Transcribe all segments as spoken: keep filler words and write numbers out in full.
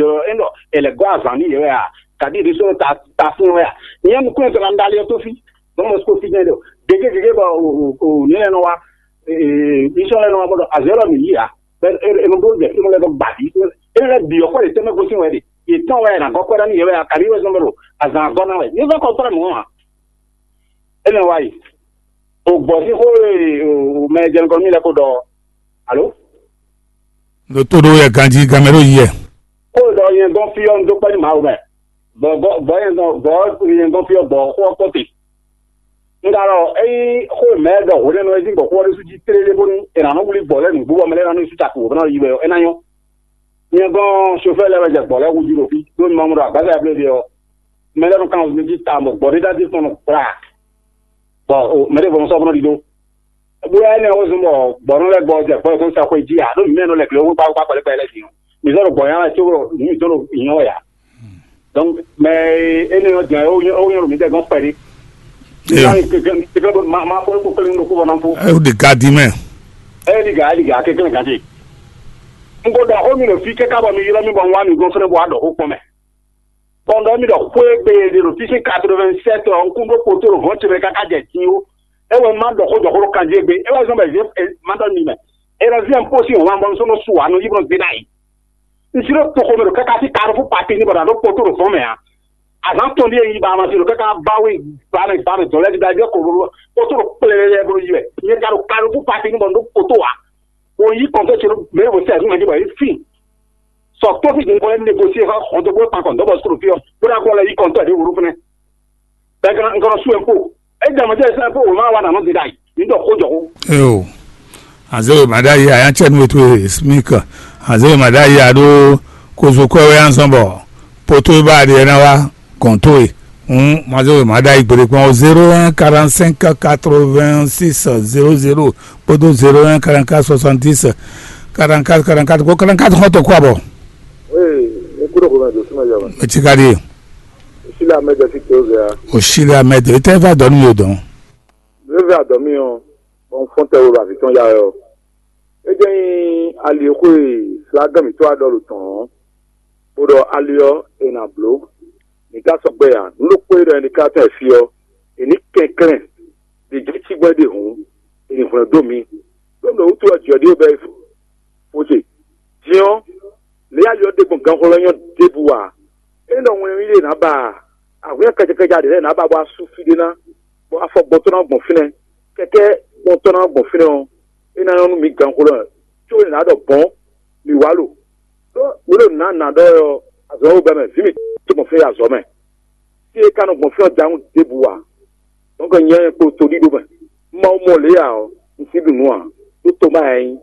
ɖɔ é ɖɔ è lɛ gɔ́ azǎn n'i yě wɛ a? Kadi ɖé sɔ́ ta ta fún wɛ a? Nyɛ nukún ɛ tɔn ná ɖali ɔ́ tó fí. Dɔn mɔ sukó fí jɛn ɖɔ gégé gégé bɔ o o o ní lɛ nɔ wa ee ní sɔ́ lɛ nɔ wa bɔ ɖɔ azɔ̌ lɔ mǐ yí a? Bɛ e e nɔ ɖó jɛ e nɔ lɛ dɔ gbadi e lɛ bǐ ɔ́ kɔ ɖe tɛmɛ gosín wɛ ɖe. Yě tɔn wɛ nǎ gɔ́ kwɛ́ ná n'i yě wɛ a? Kadi wɛ zɔn bɔ ɖo azǎn gɔ́ ná wɛ. Ní fẹ́ kɔ tɔ́ mɔ a? Énɛ́ wá yi. O gbɔ̌ sín xó e o mɛ jɛnukɔ mì lɛ́ ko ɖɔ ɔ́. Alo? Ɖo tó ɖó yɛ ganjí gamɛ ɖó yi yɛ. Xó e ɖɔ nyɛ gɔ́n fí ɔ́, un dó kpɛ́ nú Mawu mɛ. Bɔ bɔ bɔ nyɛ gɔ́n bɔ nyɛ gɔ́n fí ɔ́, gbɔ̌ xó ɔ́ kpɔ́n te. Un ka ɖɔ ényí xó e mɛ ɖɔ hwenɛ́nu e sín gbɔ̌ xó ɔ́ ɖésú jí tlélé bónú è nǎ nɔ wlí gbɔ̌ lɛ́ɛ nǔgbó bɔ mɛ lɛ́ɛ ná nɔ yi su caki wǒ bó ná yi wɛ ɔ́, é ná nyɔ́. Nyɛ gɔ́n sofɛ́ lɛ́ɛ wɛ jɛ gbɔ̌ lɛ́ɛ hú jí ɖo fí, ɖó un ma mɔ ɖɔ agbǎza e bló ɖe ɔ́, mɛ lɛ́ɛ nɔ kan wǔ mɛ jí tawun bɔ gbɔ̌ ɖé ɖ'adí tɔn nɔ gbla. Bɔ o mɛ ɖěvo nɔ sɔ́ bó nɔ ɖidó. Bóyá énɛ́ ɔ́ zɔ́n bɔ gbɔ̌ nɔ lɛ́ gbɔ jɛ gbɔ́ yětɔn sa xwé jí ǎ, ɖó mǐ mɛ nɔ lɛ glé wú kpákpá kpɛlɛ́ kpɛlɛ́ din ɔ́. Mǐ zɔ́ ɖo gbɔ̌ nya wɛ có ɖo nǔ mǐtɔn ɖo nyɔ́ wɛ ǎ. Donc mɛ énɛ́ ɔ́ din ɔ́, é wó nyɔ́ ɖo mǐdɛɛ gɔ́n kpɛɖé. Eyo. Kékeré ma ma fɔ kó kpéɖé nú ɖokpó bɔ ná fó. É wó ɖe gadi mɛ. É ɖi gǎ, é ɖi gǎ, kékeré gǎ ce. Un ko ɖɔ xó mi ɖo fí káká bɔ mi ylɔ́ mì bɔ un wá mi gɔ́n fɛ́nɛ bó wá ɖɔ xó kpɔ́n mɛ. Kɔn ɖɔ mì ɖɔ xwé gbe e ɖe ɖo fí sín quatre-vingt-sept ɔ́, un kún ɖó kpotó ɖo hɔn ce mɛ káká jɛ din ó. É wɛ má ɖɔ xó jɔ xó ɖo kanjí égbé. É wɛ zɔ́n bɔ è zě ma ɖɔ mi mɛ. È nɔ zí ɛnpó sín wǎn bɔ un sɔ́ nɔ su ǎ, nɔ yí bɔ un zé ɖ'ayǐ. Un jló toxo mɛ ɖo káká sí Carrefour Papi ní bɔ nǎ ɖó kpotó ɖo zɔ̌n mɛ ǎ. Azǎn tɔn ɖíe yi ba ma se ɖo káká ba we ba mɛ ba mɛ dɔ̌n lɛ́ɛ ɖíɖá jɛ klo ɖo kpotó ɖo kplɛlɛ bɔ yi wɛ. Nyɛ ka ɖo Carrefour Papi ní bɔ un ɖó kpotó ǎ. Wo yí kɔntɔ́ ce ɖo mɛ e vo sɛ ɛ́ fí mɛ jí bɔ é fin. Sɔ tó fi din bɔ é négosié xɔ xɔntɔ́ bó kpan kɔntɔ́ bɔ sukulu fí ɔ́ bó ná gbɔ lɛ yí kɔntɔ́ ɖě wǒ ɖó fɛnɛ. Bɛ gana gana su ɛpo. É jɛ mɔ jɛ sɛ ɛpo wò má wa nà nɔ di ɖ'ayǐ. Ní ɖɔ xó jɔ xó. Eo. Azéwe màɖá yi ayá tsɛ nú ètò smik. Azéwe màɖá yi aɖó kozo kɔ́ wɛ anzɔn bɔ poto e ba ɖe ná wá gɔn tó e. Hǔn mazéwe màɖá yi gbeɖé kpɔ́n zéro un quarante cinq quatre vingt six zéro zéro kpódó zéro un quarante quatre soixante dix quarante quatre quarante quatre kó quarante quatre xɔtɔ kó abɔ. Ee, ní kúrò kó mɛ dosúmɔ yɔ. Mɛ tsi ka ɖi. Osílẹ̀ Ahmed ẹ̀ fi tó zẹ̀ ya. Osílẹ̀ Ahmed, e tẹ́ va dɔn nú yóò dɔn. Lórí àdɔ̀mí ɔ́, bɔ un fɔ́n tɛ wo ɖo avǐ tɔn ya wɛ ɔ́. É jẹ́ nyí ali e xó e flagán mǐtɔn wá ɖɔ ɖo tɔ̌n ɔ́, bó ɖɔ ali ɔ́, è nǎ bló. Mǐ ka sɔgbe ǎ. Nǔ ɖokpó e ɖɔ nyɛ ní ka tɔn e fí ɔ́, è nǐ kɛnklɛ́n ɖě jɛ cí gbɔn é ɖe hǔn, è nǐ hwlɛ́n dó mǐ. Ɖó mɛ wútu ɔ́, jǐ ɔ́ ɖíe bɛ́ fó ce. Din ɔ́, lě ali ɔ́ ɖe gbɔn ganxɔlɔ́ nyɔ́ ɖěbǔ ǎ. É nɔ wɛn yíyí ɖé nǎ ba ahwǐnnya kɛjɛkɛjɛ ɖě lɛ́ɛ nǎ ba bɔ asú fí ɖé ná, bɔ afɔ gbɔn tɔn ná gbɔn fínɛ́, kɛkɛ́ gbɔn tɔn ná gbɔn fínɛ́ ɔ́, é ná nyɔ́ nú mǐ ganxolɔ, có è nǎ ɖɔ bɔ̌n mǐ wá lo. Đó wǒ ɖo nǎ nǎ ɖɔ ɔ́, azɔ̌ e wǒ bɛ́ mɛ, vǐ mǐtɔn gbɔn fínɛ́ yi azɔ̌ mɛ. Fí e ka nɔ gbɔn fínɛ́ ɔ́ da nú ɖěbǔ ǎ. Dɔ̌nkɛ nyɛ kpo todíɖó mɛ, Mawu mɔ lě ǎ ɔ́, un sí ɖu nǔ ǎ, ɖó tomá ɛ nyí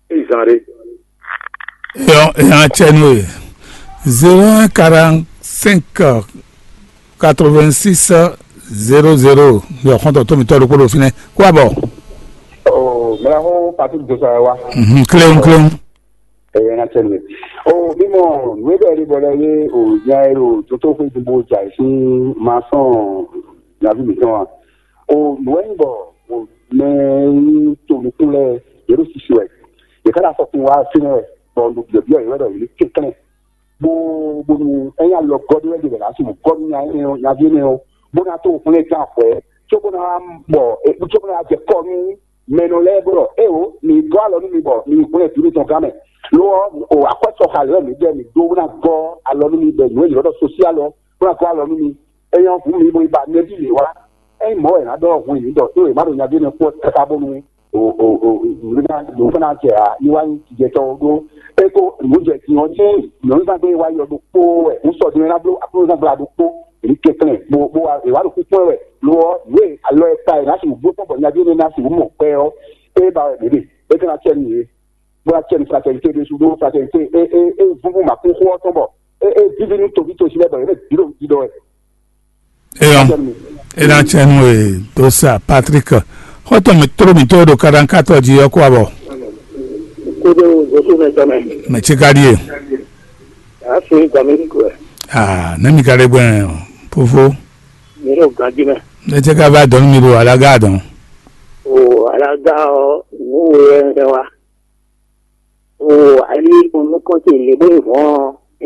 é zan ɖé. Eyɔ eya cɛ nú e zéro un quarante cinq quatre vingt six zéro zéro. Yɔ xɔntɔn tó mi tɔ ɖokpó ɖo fínɛ́ kó abɔ. Oh, mɛ xó Patrick Joshua wa. Mhm, cléon cléon. Eye na cɛ nue. Oh, mi mɔ nue bɛ ri bɔ lɛ ye o nya ero toto xwe dumbo ja si ma sɔn nyavi mi tɔn a. O nue ni bɔ o mɛ ni to nukun lɛ yero sisi wɛ. Ye kana sɔ kun wa sinɛ wɛ bɔ no biɔ biɔ yɛ wɛ dɔ yeli kekle. Bó bónú ényí alɔ gɔ́ ɖé wɛ ɖe bɛ ná su gɔ́ nú nya énɛ́ ɔ́, nyaví énɛ́ ɔ́, bó ná tó hwlɛ́n gán hwɛ̌, cóbó ná wá bɔ cóbó ná wá jɛ kɔ́ nú mɛ nɔ lɛ́ɛ bó ɖɔ éwo, mi gɔ́ alɔ nú mi bɔ mi hwlɛ́n vǐ mitɔn gán mɛ. Lo ɔ́, o akwɛ́ sɔxa lɛ́ɛ mi ɖɛ mi dó bó ná gɔ́ alɔ nú mi bɔ nǔ e yě ɖɔ sosí alɔ bó ná gɔ́ alɔ nú mi. Ényí ɔ́, hǔn mi bo yi ba nɛbí yě wá. Ényí mɔ̌ wɛ è nǎ ɖɔ hwin yě ɖɔ tó yě má ɖo nyaví énɛ́ kpɔ́ káká bónú o o o nǔ ná nǔ ná jɛ a ní wá nyí jijɛtɔ́ ɖó é kó nǔ jɛ din ɔ́ ní nyɔ̌nuzángbe wá yɔ ɖokpó wɛ nǔ sɔ din ná bló aklúnúzángbe ɖokpó èyí kɛnklɛ́n bó bó wá è wá ɖo kúkú wɛ lo ɔ́ nǔ e alɔ e ta è ná sixú gbó kpɔ́n bɔ nyaví énɛ́ ná sixú mɔ kpɛ ɔ́ é ba wɛ mǐ ɖe é ka ná cɛ nú yě bó ná cɛ nú fraternité ɖésú ɖó fraternité é é é vúvú mǎkúnxó ɔ́ tɔn bɔ é é víví nú toví tosi lɛ́ɛ bɔ yě mɛ bǐ ɖo ɖiɖɔ wɛ. Eyɔn, ena tsɛnu e dosa Patrick. Xɔtɔn mi tró mi tó ɖo kadankatɔ jí yɔ kó abɔ. Kodo zosu mɛ tɔmɛ. Mɛ tsi ka ɖie. Asi gɔmɛ ni ko. Ah, ne mi ka ɖe gbɛn fofo. Mi ɖo ganji mɛ. Ne tse ka va dɔn mi ɖo alaga dɔn. O alaga ɔ, wo yɛ wa. O ali nukɔn tse le bo vɔn.